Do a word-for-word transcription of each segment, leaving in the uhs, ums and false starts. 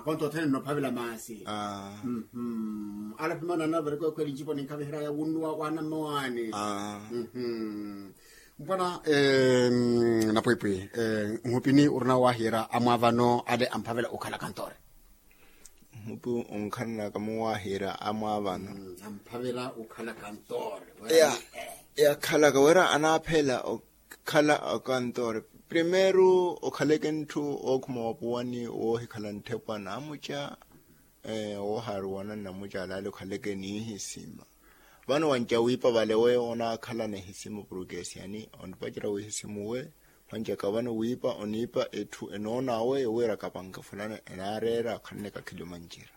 Konto othene nnophavela maasi. Ala phimana anavereke okhwela ncipo ninkhaviheraya wunnuwa wa anamme waani. Mpwana napwipwi, nhupini orina wahiira amwaavano ale amphavela okhala kantoore? Mhupi onkhananaka muwaahiira amwaavano. Amphavela okhala kantoore. Yakhalaka wira anaaphela okhala akantoore. Primeiro okhaleke ntthu ookhuma wapuwani woohikhala ntthepwa namuca. Woohaaruwana nnamuca alaale okhaleke niihisima. Vano wanca wiipa vale we onaakhala nihisima purukesiyani onipacera wihisimu we. Mwanjaka vano wiipa oniipa etthu enoon'awe wira kapanke fulani enaareera akhanne kakhili omanjira.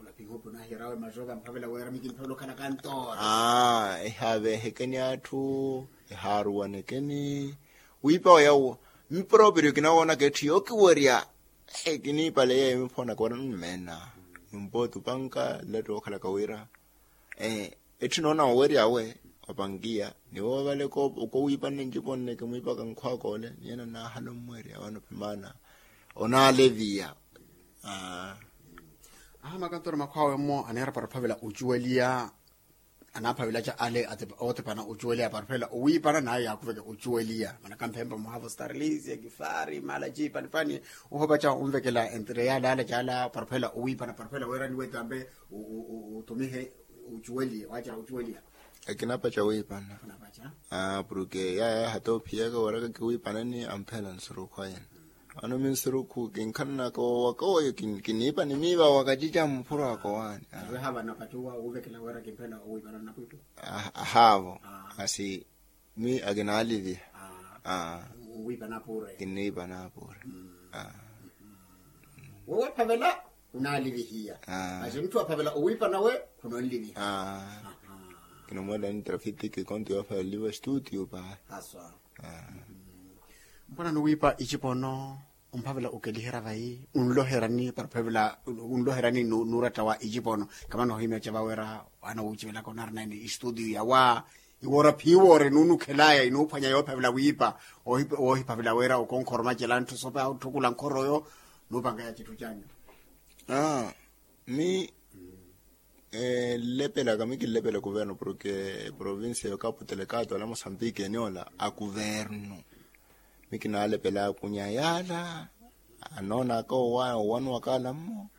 Olapihopi onahiyarawe mazoka mphavela wira mikimphavela okhala kantoora. Ehaaveehekeni atthu, ehaaruwanekeni. Wiipa oya uwo miporoperyo kinawoonaka etthu yookiwerya. Kiniipale yeyo miphoonaka wira nnummena. Numpooti opanka latti wookhalaka wira. Etthu noona oweryawe wapankiya ni woovale okowiipanne ncipo nneke mwiipaka nkhwakole niyena naahala ommwerya wano phimaana. Onaaleviya. Aha makantooro makhwawe mmo aneera para ophavela ocuweliya. Anaaphavelaca ale ootepana ocuweliya para ophavela owiipana nayo yaakuveke ocuweliya manaka mphempa muhavo starlisia kifari mala ciipanipani. Ohopaca onvekela entre yaale ala caala para ophavela owiipana para ophavela weerani wetampe. Utumihe ucuweliya waacera ucuweliya. Akinapaca wiipana. Purke yaya hata ophiyaka waraka kiwiipanani amphela nsurukhu ayana. Ano minsurukhu kinkhananaka wowaka woyo kiniipa nimiiva wakacica mphuro akowaani. Wehavana opati uwa wuuvekela wira kimphela owiipanani napwitu. Ahaavo. Asi mi akinaaliliha. Wiipa naapure. Kinniipa naapure. Wowe phavela unaalilihiya. Masi muthu aphavela owiipa nawe khunonliliha. Kinamwela ni trafitiki konto yoophavela oliva studio paha. Haswa. Mpwana nuwiipa icipono omphavela okeliherya vayi unloherani para ophavela unloherani nuuratta wa icipono. Kamana ohimya ca vawera wana wuucivelaka onarina ni istudio yawa. Iwoora phiiwoore nuunukhelaya inuuphwanya yoophavela wiipa woohiphavela wira okonkhoroma cela ntthu sope autthukula nkhoroyo. Nuupankaya citthu canyu. Mi nlepelaka mi kinlepela kuvernu porke provincia ya okapu telekato ala mosambiki eniola a kuvernu. Mi kinaalepela akunya yaala anoonaka owaya owanuwaka ala mmo.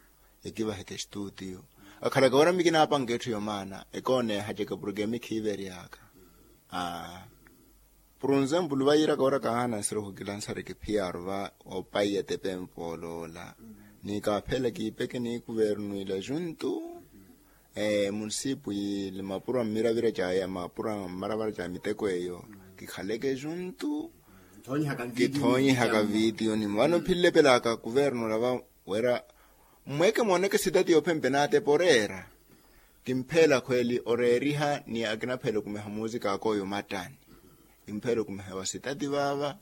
Ekivaheke estuutiyo akhalaka wira mi kinaapanka etthu yomaana ekooneehacaka porke mi khiiveryaka. Por enzempulu vayiiraka wira kahaana nsiruhu kilansari kiphiyaru va opaiya tepe mpooloola. Ni kaaphela kiipeke ni kuvernu ila juntu. Munisipu yili mapuro mmiravira caya mapuro mmaravara ca miteko eyo kikhaleke juntu. Kithoonyihaka vitiyoni vano philepelaka kuvernu olava wira mmweke mooneke sitati yoophempe naatepa oreera. Kimpheela khweli oreeriha ni akinaphela okumiha muusika akooyo mattani. Kimpheela okumiha wa sitati vaava.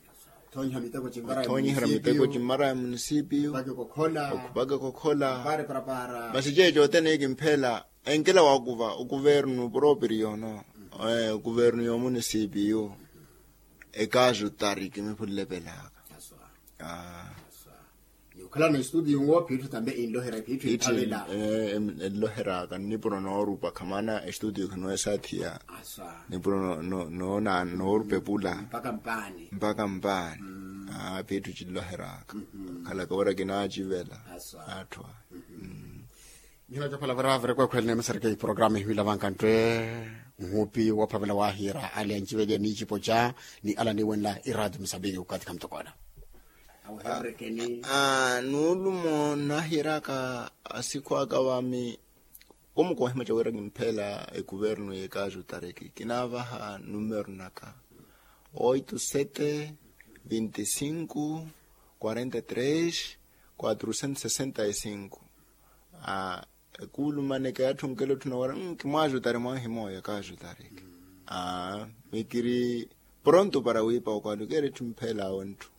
Othoonyihera miteko cimmara ya munisipiyu okhupaka ekokhola. Masi ceeco othene kimpheela enkela waakuva okuvernu propriyo no okuvernu yoomunisipiyu. Ekaasu tari kimiphullepelaka. Ni okhalana estudio nwo phiitthu tambe enlohera phiitthu emphavela. Enloheraka nnipuro noorupa khamana estudio khino esaathiya. Nnipuro noona noorupa epula mpaka mpaani. Phiitthu cinloheraka khalaka wira kinaacivela. Atthwa. Nihina cophala vira viri kwekhwelene emisareke iporogaramu ehiwila vankanttwe. Nhupi woophavela waahiira ale anciveliya n'icipo ca ni ala aniiwenla iraati musambiki okathi khamutokoola. Nuulumo nahiiraka asikhu aka vami. Kumukohimaca wira kimpheela ekuvernu y'ekaasu tareki kinaavaha numero naka oito sete vinte cinco quarenta tres quatrocentos sessenta e cinco. Ekuulumaneke yatthunke elotthu nawara nkimwaajutari mwanhimooyo ekaajutareke. Mikiri pronto para wiipa okwalukeera etthu mpheelaawe ntthu.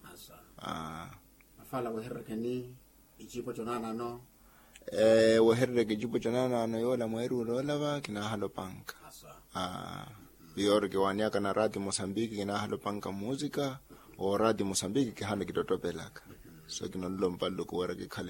Mafala wehererekeni icipo conaanano. Weherereke icipo conaanano yoola mweeruula olava kinaahala opanka. Piyorki waaniyaka na rati mosambiki kinaahala opanka muusika. Orati mosambiki kihaana kittottopelaka. So kinonlompa nluku wira kikhale.